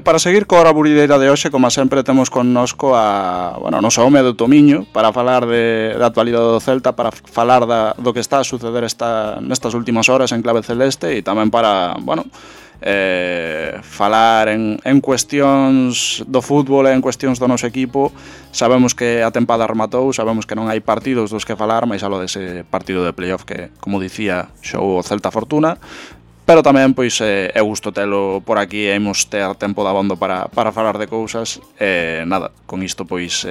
Para seguir coa hora aburrideira de hoxe, como sempre, temos connosco a noso home do Tomiño para falar da actualidade do Celta, para falar do que está a suceder nestas últimas horas en clave celeste e tamén para, falar en cuestións do fútbol e en cuestións do noso equipo. Sabemos que a tempada rematou, sabemos que non hai partidos dos que falar, máis aló dese partido de playoff que, como dicía, xogou o Celta Fortuna. Pero tamén, pois, é gusto telo por aquí e imos ter tempo dabondo para falar de cousas. Nada, con isto, pois,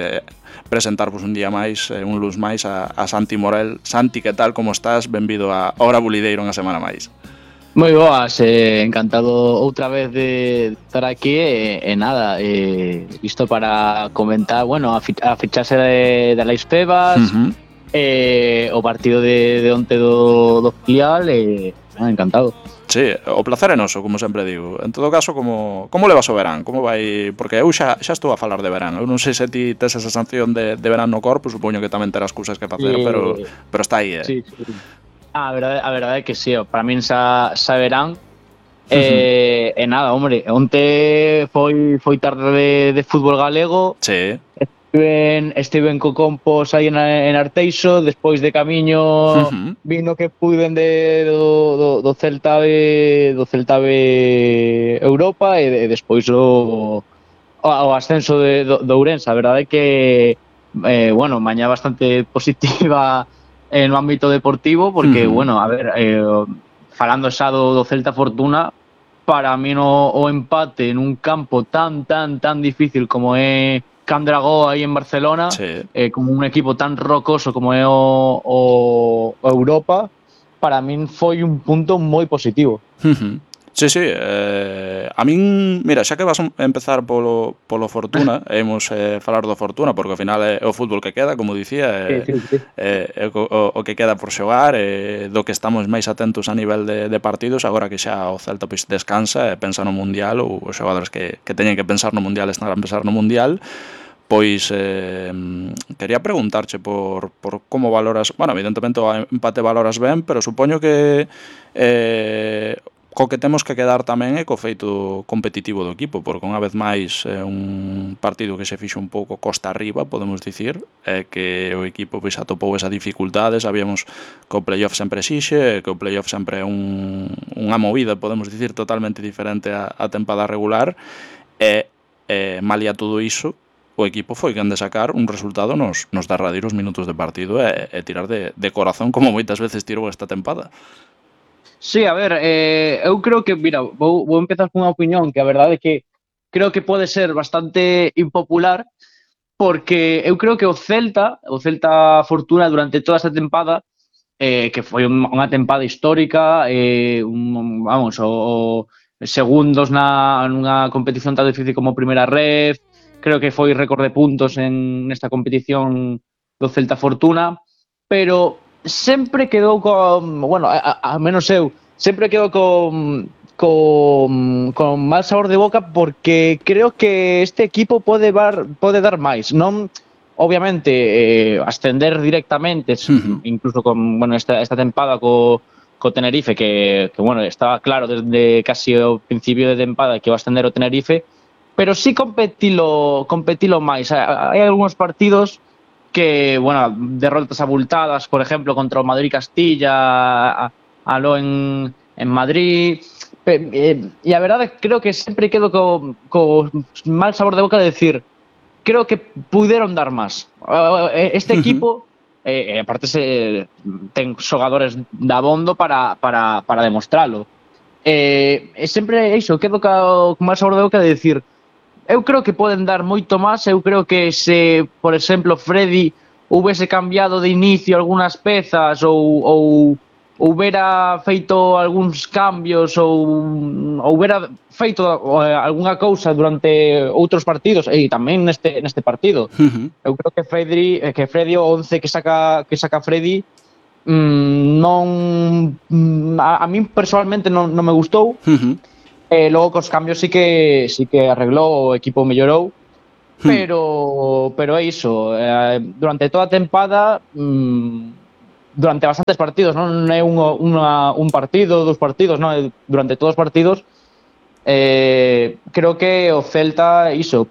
presentarvos un día máis, un luz máis a Santi Morel. Santi, que tal, como estás? Benvido a Hora Bulideiro unha semana máis. Moi boas, encantado outra vez de estar aquí e nada, isto para comentar, a fichaxe de Alex Pebas, o partido de onte do filial, encantado. Sí, o placer é noso, como sempre digo. En todo caso, como levas o verán? Como vai? Porque eu xa estou a falar de verán. Eu non sei se ti tes esa sensación de verán no corpo, supoño que tamén terás cousas que facer, pero está aí, Sí. A verdade é que sí, para min xa verán. E nada, hombre, onte foi tarde de fútbol galego. Sí. Estiven co Compos aí en Arteixo, despois de camiño vino que puiden do Celta de Europa e despois o ascenso do Ourense. A verdade é que mañá bastante positiva no ámbito deportivo porque, falando xa do Celta Fortuna, para mí o empate nun campo tan difícil como é Can Dragó aí en Barcelona, sí. Como un equipo tan rocoso como é o Europa, para min foi un punto moi positivo. Sí, a min, mira, xa que vas a empezar polo Fortuna, imos falar do Fortuna, porque ao final é o fútbol que queda, como dicía, o que queda por xogar, do que estamos máis atentos a nivel de partidos, agora que xa o Celta pois descansa e pensa no Mundial, ou os xogadores que teñen que pensar no Mundial están a pensar no Mundial. Pois quería preguntarche por como valoras, evidentemente o empate valoras ben, pero supoño que co que temos que quedar tamén é co feito competitivo do equipo, porque unha vez máis é un partido que se fixo un pouco costa arriba, podemos dicir, que o equipo pois atopou esa dificultade. Sabíamos que o playoff sempre exixe, que o playoff sempre é unha movida, podemos dicir, totalmente diferente á tempada regular, e malia todo iso, o equipo foi quen de sacar un resultado nos derradeiros minutos de partido e tirar de corazón, como moitas veces tirou esta tempada. Sí, a ver, eu creo que, mira, vou empezar con unha opinión que a verdade é que creo que pode ser bastante impopular, porque eu creo que o Celta Fortuna durante toda esta tempada, que foi unha tempada histórica, segundos nunha competición tan difícil como Primeira Ref, creo que foi récord de puntos nesta competición do Celta Fortuna, pero sempre quedou a menos eu, sempre quedou con mal sabor de boca, porque creo que este equipo pode dar máis. Non, obviamente, ascender directamente, incluso con esta tempada co Tenerife, que estaba claro desde casi o principio de tempada que iba a ascender o Tenerife, pero sí competilo máis. Hai algúns partidos que, derrotas abultadas, por exemplo, contra o Madrid-Castilla, aló en Madrid, e a verdade creo que sempre quedo co mal sabor de boca de decir, creo que puderon dar máis. Este equipo, aparte ten xogadores dabondo para demostralo. Sempre iso, quedo co mal sabor de boca de decir, eu creo que poden dar moito máis. Eu creo que se, por exemplo, Freddy houvese cambiado de inicio algunhas pezas ou houbera feito algúns cambios ou houbera feito algunha cousa durante outros partidos e tamén neste partido. Eu creo que Freddy o 11 que saca Freddy non, a min personalmente non me gustou. Logo cos cambios sí que arreglou, o equipo mellorou, pero é iso, durante toda a tempada, durante bastantes partidos, non é un partido, 2 partidos, non, durante todos os partidos creo que o Celta iso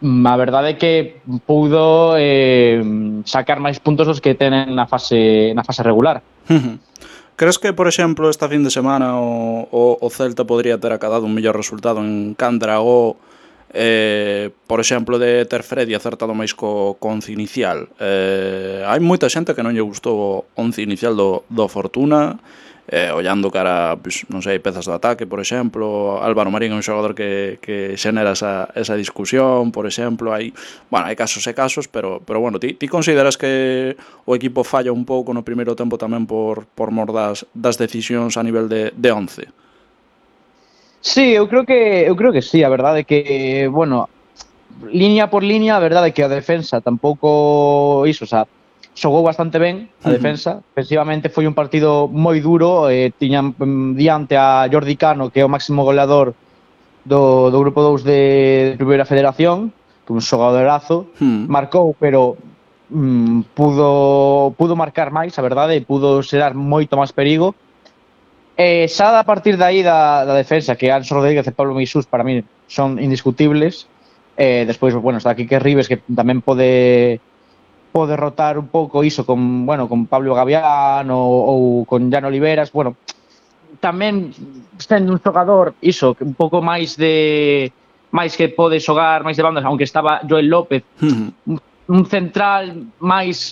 a verdade é que pudo sacar máis puntos dos que tenen na fase regular. Crees que, por exemplo, esta fin de semana o Celta podría ter acadado un mellor resultado en Candragó, por exemplo, de ter Freddy acertado máis co once inicial? Hai moita xente que non lle gustou o once inicial do Fortuna, ollando cara, pues, non sei, pezas do ataque, por exemplo. Álvaro Marín é un xogador que xenera esa discusión, por exemplo. Hai casos e casos, pero bueno, ti consideras que o equipo falla un pouco no primeiro tempo tamén por mor das decisións a nivel de once? Sí, eu creo que sí, a verdade é que, bueno, línea por línea, a verdade é que a defensa tampouco iso, o sea, xogou bastante ben a defensa. Ofensivamente foi un partido moi duro, tiñan diante a Jordi Cano, que é o máximo goleador do grupo 2 de Primeira Federación, que un xogadorazo, marcou, pero pudo marcar máis, a verdade, pudo xerar moito máis perigo. Xa a partir de aí da defensa, que Anxo Rodríguez e Pablo Misús para mí son indiscutibles. Despois, bueno, está Quique Ribes, que tamén pode rotar un pouco iso con Pablo Gavián ou con Jan Oliveras. Bueno, tamén sendo un xogador iso, un pouco máis que pode xogar máis de bandas, aunque estaba Joel López, un central máis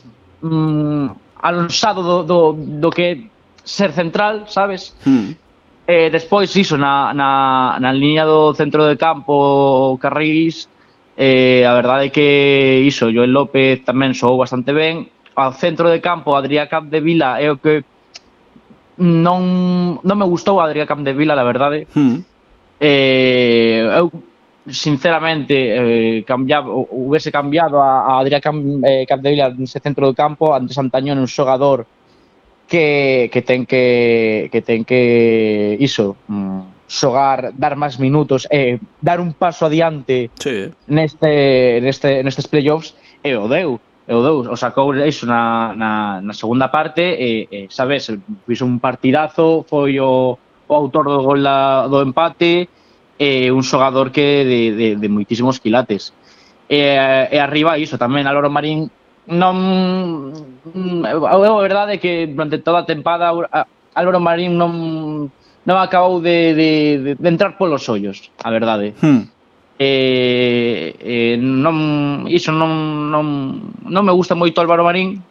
alonsado do que ser central, sabes? Despois iso, na liña do centro de campo, Carrís, a verdade é que iso, Joel López tamén xogou bastante ben. Ao centro de campo, Adrià Capdevila é o que non me gustou Adrià Capdevila, la verdade. Eu sinceramente hubiese cambiado a Adrià Capdevila nese centro de campo. Antes Antañón é un xogador que ten que iso, xogar, dar máis minutos, dar un paso adiante nestes playoffs, e o deu, o sacou iso na segunda parte, sabes, fixo un partidazo, foi o autor do gol do empate, un xogador que de moitísimos quilates. E arriba iso tamén, Álvaro Marín a verdade é que durante toda a tempada Álvaro Marín non acabou de entrar polos ollos, a verdade. Non me gusta moito Álvaro Marín,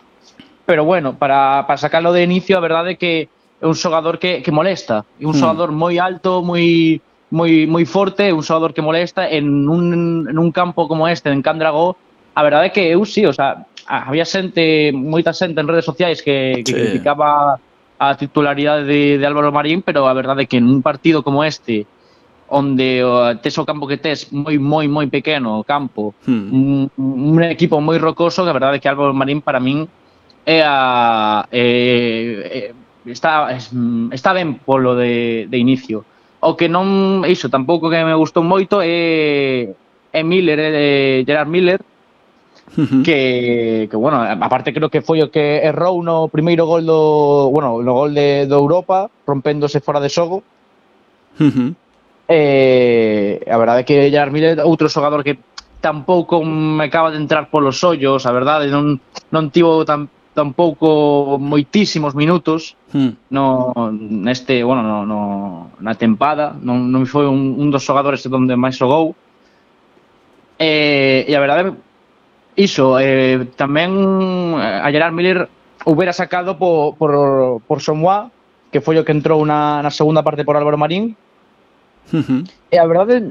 pero bueno, para sacarlo de inicio, a verdade é que é un xogador que molesta, é un xogador moi alto, moi forte, un xogador que molesta en un campo como este, en Candragó. A verdade é que eu sí, o sea, había moita xente en redes sociais que criticaba a titularidade de Álvaro Marín, pero a verdade é que en un partido como este, onde tes o campo que tes moi pequeno, o campo, un equipo moi rocoso, que a verdade é que Álvaro Marín para min está ben polo de inicio. O que non, iso, tampouco que me gustou moito é Gerard Miller, que bueno, aparte creo que foi o que errou no primeiro gol no gol de Europa, rompéndose fora de xogo. A verdade é que Gerard Miller, outro xogador que tampouco me acaba de entrar polos ollos, a verdade, non tivo tampouco moitísimos minutos na tempada, non foi un dos xogadores onde máis xogou. E a verdade, iso, tamén a Gerard Miller houbera sacado por Somoa, que foi o que entrou na segunda parte por Álvaro Marín. E a verdade,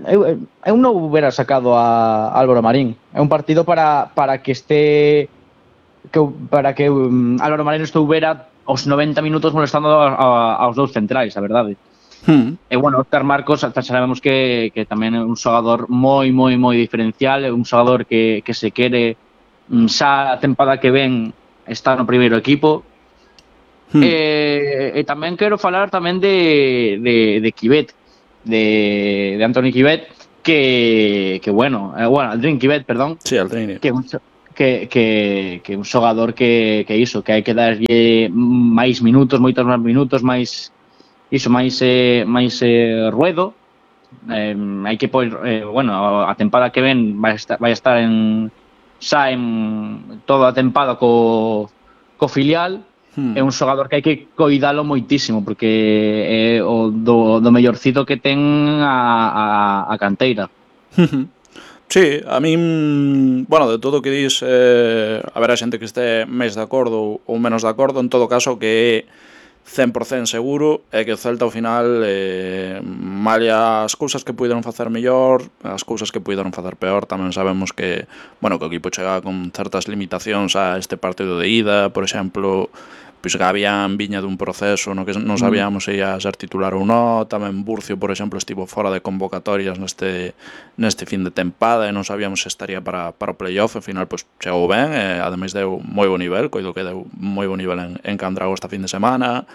eu non houbera sacado a Álvaro Marín. É un partido para que Álvaro Marín estouvera aos 90 minutos molestando aos dous centrais, a verdade. E bueno, Óscar Marcos, sabemos que tamén é un xogador moi diferencial, é un xogador que se quere xa a tempada que ven está no primeiro equipo. E tamén quero falar tamén de Quivet, de Anthony Quivet, que bueno, Aldrin Quivet, perdón. Sí, Aldrin. Que un xogador que iso, que hai que darlle máis minutos, moitos máis minutos, máis iso máis ruedo. Hai que pois, bueno, a tempada que ven vai estar en toda a tempada co filial. É un xogador que hai que coidalo moitísimo porque é o do mellorcito que ten a canteira. Sí, a min, bueno, de todo o que dis, haberá xente que este máis de acordo ou menos de acordo, en todo caso que é 100% seguro é que o Celta ao final, malia as cousas que puideron facer mellor, as cousas que puideron facer peor, tamén sabemos que, bueno, que o equipo chega con certas limitacións a este partido de ida, por exemplo, pois Gavián viña dun proceso no que non sabíamos se ia ser titular ou non, tamén Burcio, por exemplo, estivo fora de convocatorias neste fin de tempada e non sabíamos se estaría para o playoff, ao final pois chegou ben, e ademais deu moi bo nivel, coido que deu moi bo nivel en Candrago esta fin de semana.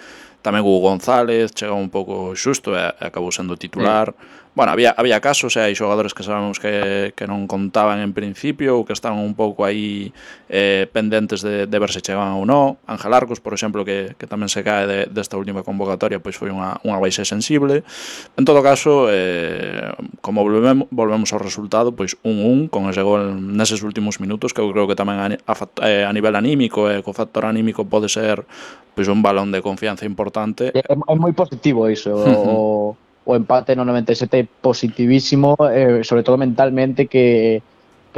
Tamén Hugo González chegou un pouco xusto e acabou sendo titular. Bueno, había casos, hai xogadores que sabemos que non contaban en principio ou que estaban un pouco aí pendentes de ver se chegaban ou non. Ángel Arcos, por exemplo, que tamén se cae desta última convocatoria, pois foi unha baixa sensible. En todo caso, como volvemos ao resultado, pois 1-1 con ese gol neses últimos minutos, que eu creo que tamén a nivel anímico e co factor anímico pode ser pois un balón de confianza importante. É moi positivo iso. O empate no 97 positivísimo, sobre todo mentalmente, que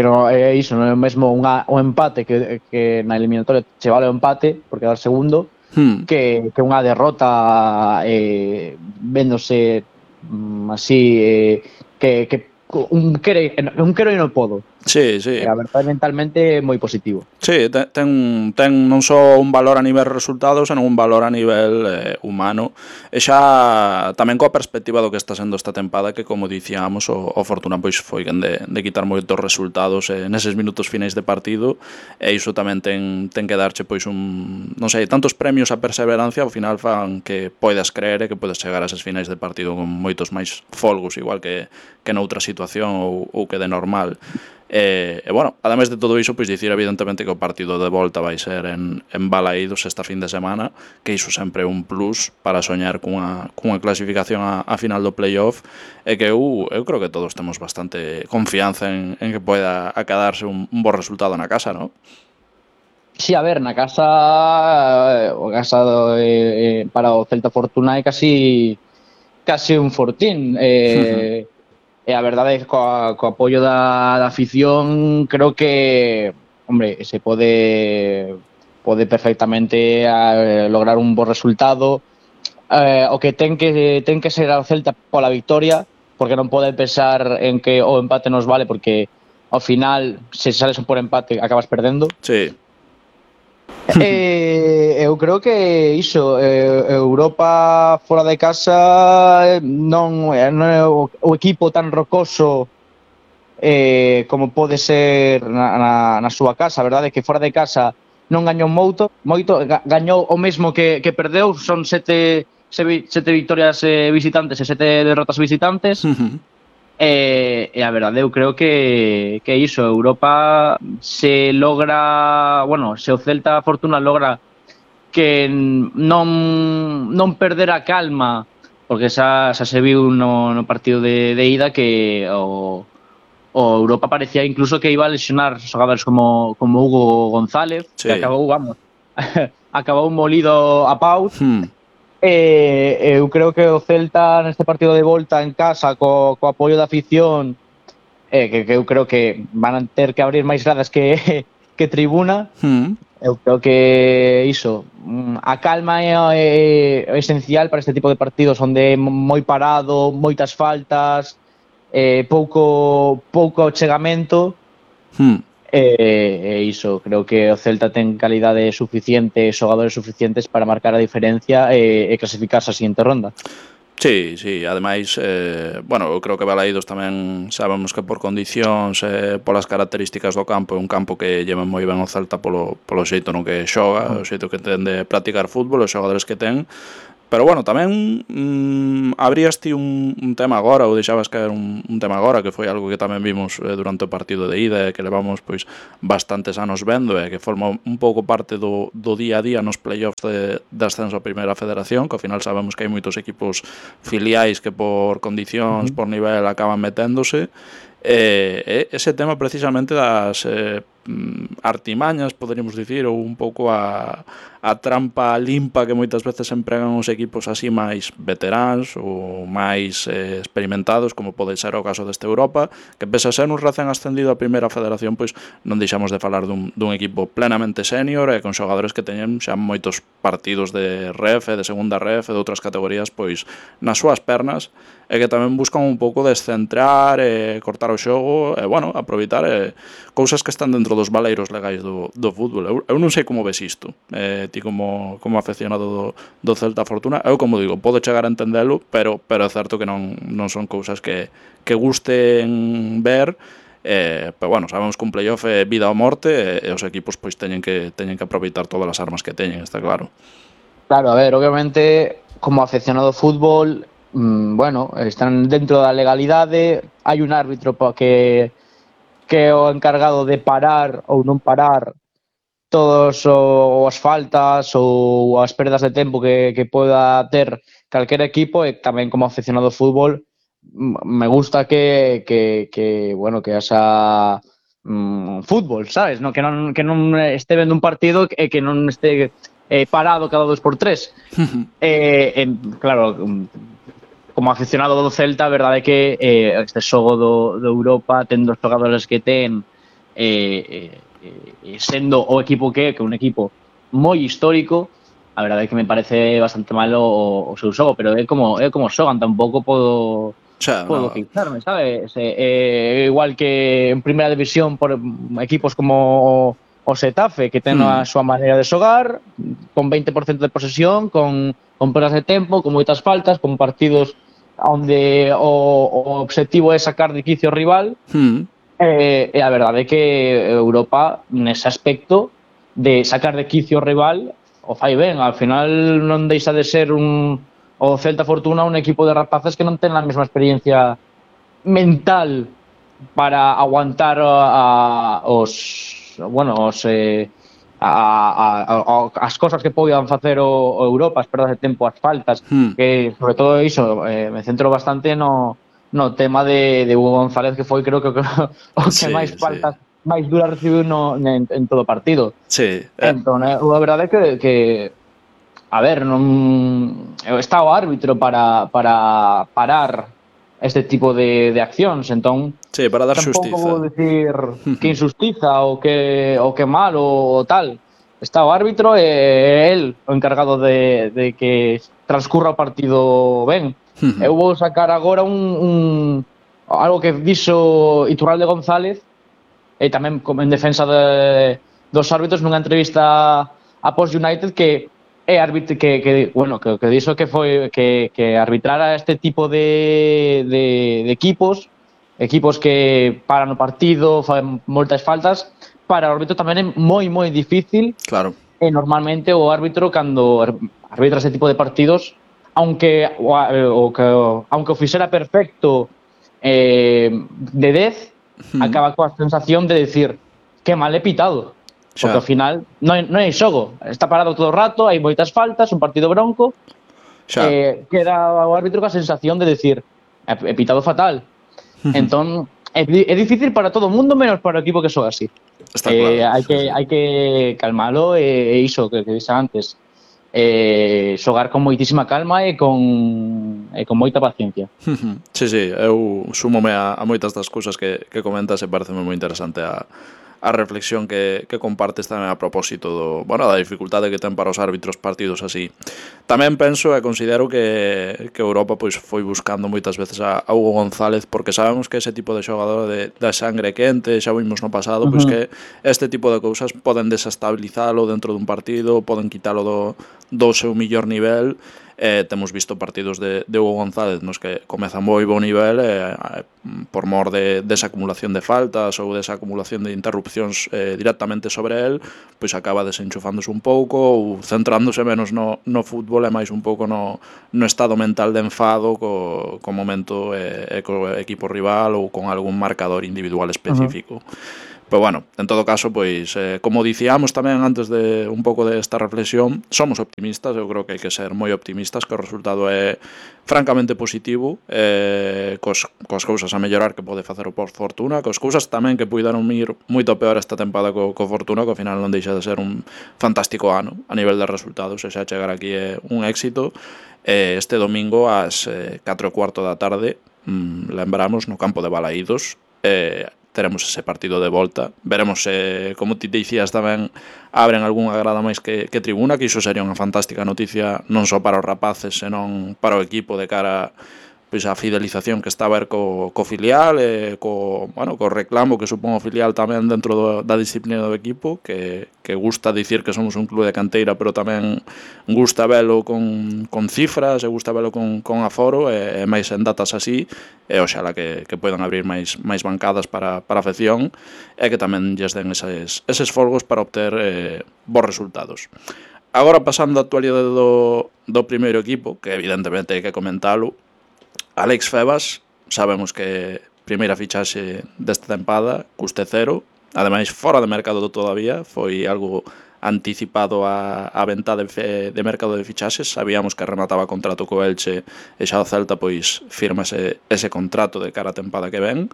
non é iso, non é mesmo un empate que na eliminatoria che vale o empate por quedar segundo, que unha derrota véndose así, que un quero e non podo. Sí, sí. A verdade, mentalmente moi positivo. Sí, ten non só un valor a nivel resultados, senón un valor a nivel humano. E xa tamén coa perspectiva do que está sendo esta tempada, que como dicíamos, o Fortuna pois foi quen de quitar moitos resultados neses minutos finais de partido, e iso tamén ten que darche pois non sei, tantos premios a perseverancia ao final fan que poidas creer e que podes chegar a eses finais de partido con moitos máis folgos, igual que noutra situación ou que de normal. E bueno, ademais de todo iso, pois dicir evidentemente que o partido de volta vai ser en Balaídos esta fin de semana, que iso sempre é un plus para soñar cunha clasificación a final do playoff, e que eu creo que todos temos bastante confianza en que poida acadarse un bo resultado na casa, non? Sí, a ver, na casa para o Celta Fortuna é casi un fortín. E a verdade é que co apoio da afición creo que, hombre, se pode perfectamente lograr un bo resultado. O que ten que ser ao Celta pola victoria, porque non pode pensar en que o empate nos vale, porque ao final, se sales por empate, acabas perdendo. Sí. Eu creo que iso, Europa fora de casa non é o equipo tan rocoso como pode ser na súa casa. A verdade é que fora de casa non gañou moito, gañou o mesmo que perdeu, son 7 victorias visitantes e 7 derrotas visitantes. E a verdade, eu creo que iso, Europa se logra, bueno, se o Celta Fortuna logra que non perder a calma, porque xa se viu no partido de ida que o Europa parecía incluso que iba a lesionar xogadores como Hugo González, que acabou molido a pau. Eu creo que o Celta neste partido de volta en casa co apoio da afición, que eu creo que van a ter que abrir máis gradas que tribuna. Eu creo que iso, a calma é esencial para este tipo de partidos onde é moi parado, moitas faltas, pouco achegamento. E iso, creo que o Celta ten calidade suficiente, xogadores suficientes para marcar a diferencia e clasificarse a siguiente ronda. Sí, ademais, bueno, eu creo que Balaídos tamén sabemos que por condicións polas características do campo é un campo que lleva moi ben o Celta polo xeito no que xoga, o xeito que ten de practicar fútbol, os xogadores que ten, Pero bueno, tamén abrías ti un tema agora, ou deixabas caer un tema agora, que foi algo que tamén vimos durante o partido de ida, que levamos pois bastantes anos vendo, e que forma un pouco parte do día a día nos playoffs de ascenso a Primeira Federación, que ao final sabemos que hai moitos equipos filiais que por condicións, por nivel, acaban meténdose. Ese tema precisamente das artimañas, poderíamos dicir, ou un pouco a trampa limpa que moitas veces empregan os equipos así máis veteráns ou máis experimentados, como pode ser o caso deste Europa, que pese a ser un recén ascendido a Primeira Federación, pois non deixamos de falar dun equipo plenamente senior e con xogadores que teñen xa moitos partidos de ref, de segunda ref e de outras categorías pois nas súas pernas, e que tamén buscan un pouco descentrar e cortar o xogo e, bueno, aproveitar cousas que están dentro dos valeiros legais do fútbol. Eu non sei como ves isto, ti como afeccionado do Celta Fortuna. Eu, como digo, podo chegar a entendelo, pero é certo que non son cousas que gusten ver, pero bueno, sabemos que un playoff é vida ou morte e os equipos pois teñen que aproveitar todas as armas que teñen, está claro. Claro, a ver, obviamente, como afeccionado ao fútbol, bueno, están dentro da legalidade, hai un árbitro que é o encargado de parar ou non parar todas as faltas ou as perdas de tempo que poda ter calquer equipo, e tamén como afeccionado ao fútbol me gusta que bueno, que haxa fútbol, sabes? No, que non este vendo un partido e que non este parado cada 2x3. Claro, como aficionado do Celta, a verdade é que este xogo do Europa, tendo os xogadores que ten, sendo o equipo que é un equipo moi histórico, a verdade é que me parece bastante malo o seu xogo, pero é como xogan, tampouco podo queixarme, sabes? Igual que en Primeira División por equipos como o Xetafe, que ten a súa maneira de xogar, con 20% de posesión, con perdas de tempo, con moitas faltas, con partidos onde o obxectivo é sacar de quicio o rival. E a verdade é que Europa, nese aspecto de sacar de quicio o rival, o fai ben. Al final non deixa de ser o Celta Fortuna un equipo de rapaces que non ten a mesma experiencia mental para aguantar as cosas que podan facer o Europa, as perdas de tempo, as faltas, que sobre todo iso, me centro bastante no tema de Hugo González, que foi creo que o que máis faltas máis duras recibiu en todo o partido. Entón, a verdade é que a ver, non está o árbitro para parar este tipo de accións, entón para dar xustiza. Tampouco vou dicir que injustiza ou que mal ou tal. Está o árbitro e el o encargado de que transcurra o partido ben. Eu vou sacar agora algo que dixo Iturralde González, e tamén en defensa dos árbitros nunha entrevista a Post United, que é árbitro que dixo que foi que arbitrara este tipo de equipos que paran o partido, fan moitas faltas. Para o árbitro tamén é moi difícil. Claro. E normalmente o árbitro, cando arbitra ese tipo de partidos, aunque o fixera perfecto de 10, acaba coa sensación de decir que mal he pitado. Porque ao final non hai xogo, está parado todo o rato, hai moitas faltas, un partido bronco, queda o árbitro coa sensación de decir he pitado fatal. Entón é difícil para todo o mundo, menos para o equipo que xoga así. Está claro. Hai que calmalo, e iso que dixe antes, xogar con moitísima calma e con moita paciencia. Sí, eu súmome a moitas das cousas que comentas, e pareceme moi interesante a reflexión que compartes tamén a propósito da dificultade que ten para os árbitros partidos así. Tamén penso e considero que Europa pois foi buscando moitas veces a Hugo González, porque sabemos que ese tipo de xogador da sangre quente, xa vimos no pasado, pois que este tipo de cousas poden desestabilizalo dentro dun partido, poden quitalo do seu millor nivel, temos visto partidos de Hugo González nos que comeza moi bo nivel por mor desa acumulación de faltas ou desa acumulación de interrupcións directamente sobre el, pois acaba desenchufándose un pouco ou centrándose menos no fútbol e máis un pouco no estado mental de enfado co momento e co equipo rival ou con algún marcador individual específico. Pero bueno, en todo caso, pois, como dicíamos tamén antes de un pouco desta reflexión, somos optimistas, eu creo que hai que ser moi optimistas, que o resultado é francamente positivo, cos cousas a mellorar que pode facer o Fortuna, cos cousas tamén que puideron ir moito peor esta tempada co Fortuna, que ao final non deixa de ser un fantástico ano a nivel de resultados, e xa chegar aquí é un éxito. Este domingo ás 4:15 da tarde, lembramos, no campo de Balaídos, teremos ese partido de volta. Veremos se, como ti dicías tamén, abren algunha grada máis que tribuna, que iso sería unha fantástica noticia non só para os rapaces, senón para o equipo de cara pois a fidelización que está a ver co filial e co reclamo que supón o filial tamén dentro da disciplina do equipo, que gusta dicir que somos un club de canteira, pero tamén gusta velo con cifras, e gusta velo con aforo e máis en datas así, e oxala que poidan abrir máis bancadas para a afección e que tamén lles den eses folgos para obter bons resultados. Agora, pasando a actualidade do primeiro equipo, que evidentemente hai que comentalo, Alex Febas, sabemos que primeira fichaxe desta tempada, custe cero, ademais fora de mercado todavía, foi algo anticipado a venta de mercado de fichaxes, sabíamos que remataba contrato co Elche e xa o Celta pois firma ese contrato de cara a tempada que ven.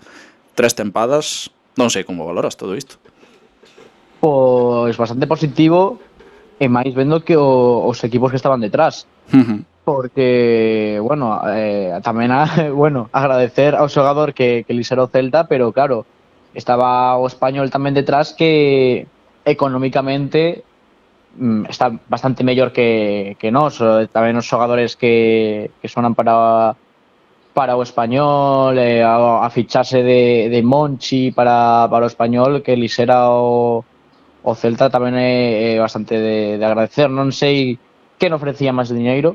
3 tempadas, non sei como valoras todo isto. Pois bastante positivo, e máis vendo que os equipos que estaban detrás. Porque, bueno, tamén agradecer ao xogador que lixera o Celta, pero claro, estaba o Español tamén detrás, que económicamente está bastante mellor que nós. Tamén os xogadores que sonan para o Español, a fichase de Monchi para o Español, que lixera o Celta, tamén é bastante de agradecer. Non sei que non ofrecía máis diñeiro,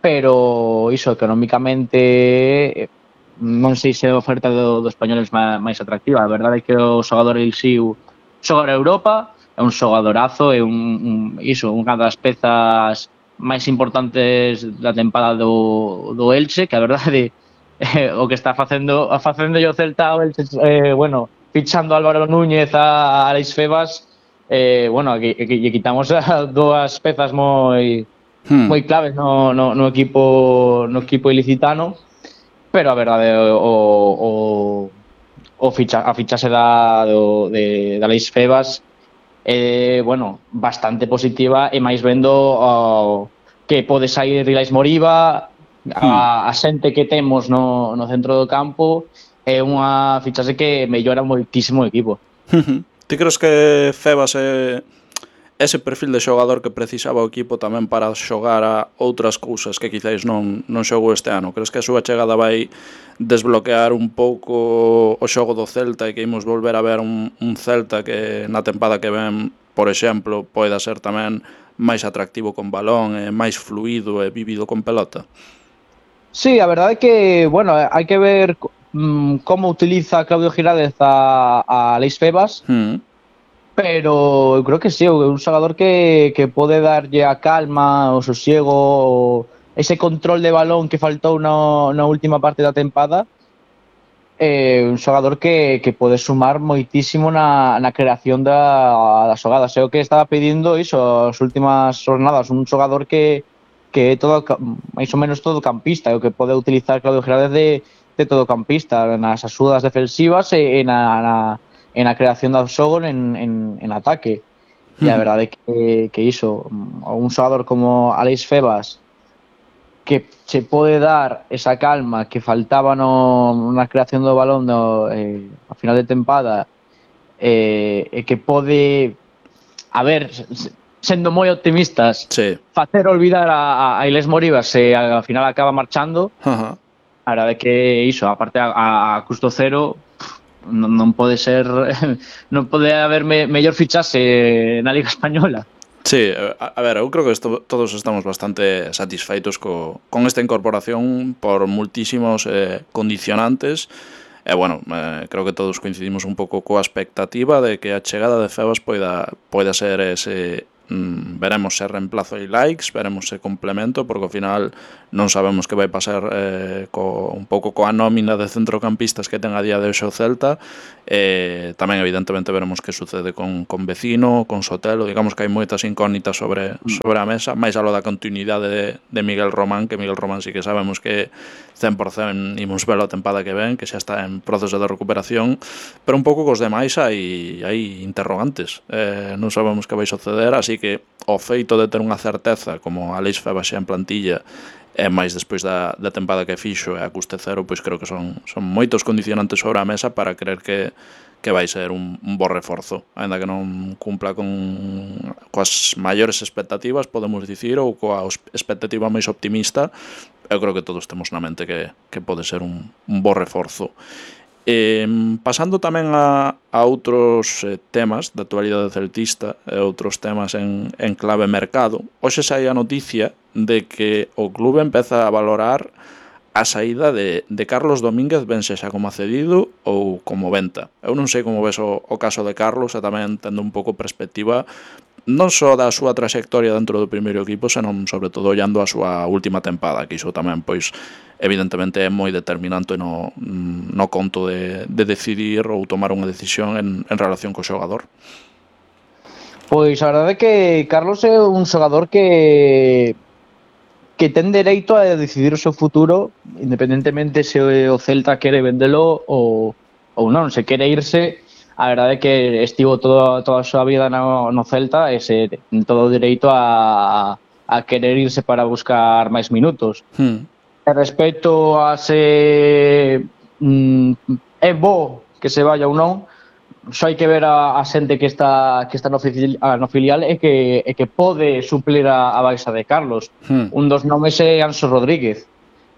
pero iso, económicamente non sei se a oferta do Español é máis atractiva. A verdade é que o xogador Elxiu xoga a Europa, é un xogadorazo, é unha das pezas máis importantes da tempada do Elche, que a verdade o que está facendo o Celta, o Elche, fichando a Álvaro Núñez, a Alex Febas, que quitamos dúas pezas moi claves no equipo ilicitano, pero a verdade a fichase de Alex Febas bastante positiva, e máis vendo que pode sair Rilais Moriba, a xente que temos no centro do campo, é unha fichase que mellora moitísimo o equipo. Ti crees que Febas é ese perfil de xogador que precisaba o equipo tamén para xogar a outras cousas que quizáis non xogou este ano? Crees que a súa chegada vai desbloquear un pouco o xogo do Celta e que imos volver a ver un Celta que na tempada que ven, por exemplo, poida ser tamén máis atractivo con balón, máis fluido e vivido con pelota? Sí, a verdade é que, hai que ver como utiliza Claudio Giraldez a Alex Febas, pero eu creo que sí, é un xogador que pode darlle a calma, o sosiego, ese control de balón que faltou na última parte da tempada. Un xogador que pode sumar moitísimo na creación das xogadas. É o que estaba pedindo iso as últimas jornadas, un xogador que é todo, máis ou menos todo campista, o que pode utilizar Claudio Giraldez de todo campista, nas axudas defensivas e na creación do xogo en ataque. E a verdade é que iso, un xogador como Alex Febas, que se pode dar esa calma que faltaba na creación do balón a final de tempada, e que pode, sendo moi optimistas, facer olvidar a Alex Moriba se ao final acaba marchando. A verdade é que iso, aparte a custo cero, non pode ser, non pode haber mellor fichase na Liga Española. Sí, a ver, eu creo que todos estamos bastante satisfeitos con esta incorporación por multísimos condicionantes. Bueno, creo que todos coincidimos un pouco coa expectativa de que a chegada de Febas poida ser ese veremos se reemplazo e likes, veremos se complemento, porque ao final non sabemos que vai pasar un pouco coa nómina de centrocampistas que ten a día de hoxe o Celta. Tamén evidentemente veremos que sucede con Vecino, con Sotelo. Digamos que hai moitas incógnitas sobre a mesa, máis alo da continuidade de Miguel Román, que Miguel Román sí que sabemos que 100% imos velo a tempada que ven, que xa está en proceso de recuperación, pero un pouco cos demais hai interrogantes. Non sabemos que vai suceder, así que o feito de ter unha certeza como Aleix Febas xa en plantilla e máis despois da tempada que fixo e a custe cero, pois creo que son moitos condicionantes sobre a mesa para creer que vai ser un bo reforzo, aínda que non cumpla coas maiores expectativas, podemos dicir, ou coa expectativa máis optimista. Eu creo que todos temos na mente que pode ser un bo reforzo. Pasando tamén a outros temas da actualidade celtista e outros temas en clave mercado, hoxe sai a noticia de que o clube empeza a valorar a saída de Carlos Domínguez, ben sexa como cedido ou como venta. Eu non sei como ves o caso de Carlos, e tamén tendo un pouco perspectiva non só da súa traxectoria dentro do primeiro equipo, senón sobre todo ollando a súa última tempada, que iso tamén, pois, evidentemente é moi determinante no conto de decidir ou tomar unha decisión en relación co xogador. Pois a verdade é que Carlos é un xogador que ten dereito a decidir o seu futuro, independentemente se o Celta quere vendelo ou non, se quere irse. A verdade é que estivo toda a súa vida no Celta e ten todo o dereito a querer irse para buscar máis minutos. Respecto a se é bo que se vaya ou non, só hai que ver a xente que está no filial e que pode suplir a baixa de Carlos. Un dos nomes é Anxo Rodríguez.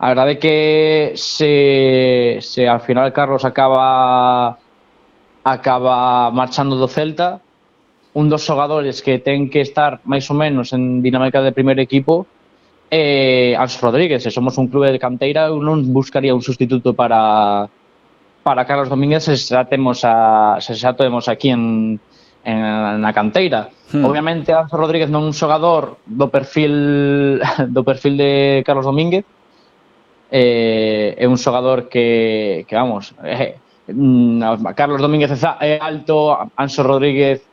A verdade é que se ao final Carlos acaba marchando do Celta, un dos xogadores que ten que estar máis ou menos en dinámica de primeiro equipo é Anxo Rodríguez. Se somos un clube de canteira, eu non buscaría un sustituto para Carlos Domínguez se xa temos aquí na canteira. Obviamente Anxo Rodríguez non é un xogador do perfil de Carlos Domínguez, é un xogador que vamos, Carlos Domínguez é alto, Anxo Rodríguez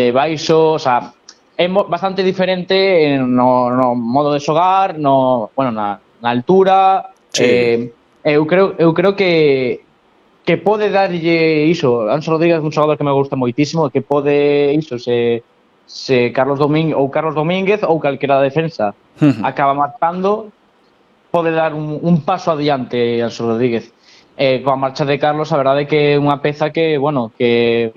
baixo, o sea, é bastante diferente no modo de xogar, na altura. Sí. Eu creo que pode darlle iso. Anxo Rodríguez é un xogador que me gusta moitísimo, que pode iso, se Carlos Domínguez ou calquera defensa acaba marchando, pode dar un paso adiante Anxo Rodríguez. Coa marcha de Carlos, a verdade é que é unha peza que, bueno, que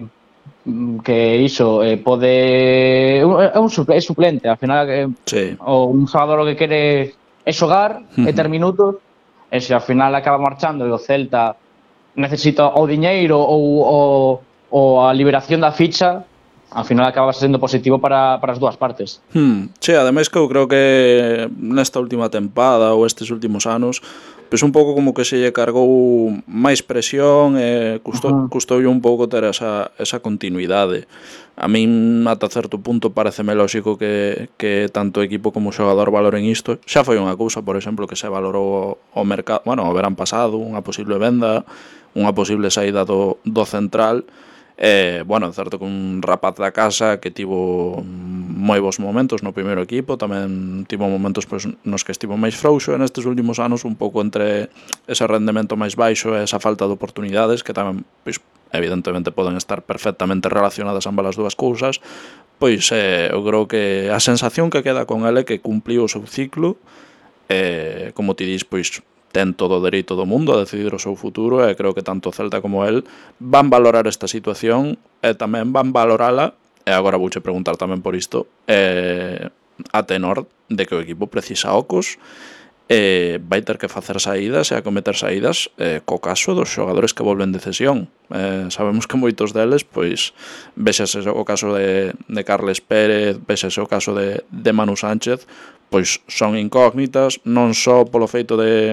iso pode é suplente, ao final sí. un xogador que quere é xogar e ter minutos, e se ao final acaba marchando e o Celta necesita o diñeiro ou a liberación da ficha, ao final acaba sendo positivo para as dúas partes. Sí, ademais que eu creo que nesta última tempada ou estes últimos anos, pois un pouco como que se lle cargou máis presión e custoulle un pouco ter esa continuidade. A min, ata certo punto, pareceme lóxico que tanto o equipo como o xogador valoren isto. Xa foi unha cousa, por exemplo, que se valorou o mercado, bueno, o verán pasado, unha posible venda, unha posible saída do central. Bueno, é certo que un rapaz da casa que tivo moi bons momentos no primeiro equipo, tamén tivo momentos pois, nos que estivo máis frouxo, e nestes últimos anos un pouco entre ese rendemento máis baixo e esa falta de oportunidades, que tamén, pois, evidentemente poden estar perfectamente relacionadas ambas as dúas cousas, pois eu creo que a sensación que queda con ele é que cumpliu o seu ciclo, como ti dis, pois ten todo o dereito do mundo a decidir o seu futuro, e creo que tanto Celta como el van valorar esta situación e tamén van valorala, e agora vouche preguntar tamén por isto, a tenor de que o equipo precisa ocos vai ter que facer saídas e acometer saídas co caso dos xogadores que volven de cesión. Sabemos que moitos deles, pois, vexase o caso de Carles Pérez, vexase o caso de Manu Sánchez, pois son incógnitas, non só polo feito de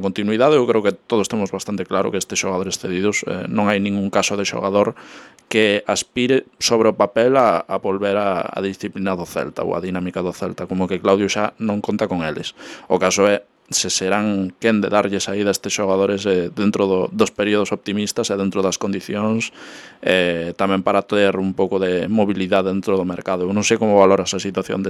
continuidade. Eu creo que todos temos bastante claro que estes xogadores cedidos non hai ningún caso de xogador que aspire sobre o papel a volver a disciplina do Celta ou a dinámica do Celta, como que Claudio xa non conta con eles. O caso é se serán quen de darlle saída a estes xogadores dentro dos períodos optimistas e dentro das condicións, tamén para ter un pouco de mobilidade dentro do mercado. Eu non sei como valoras a situación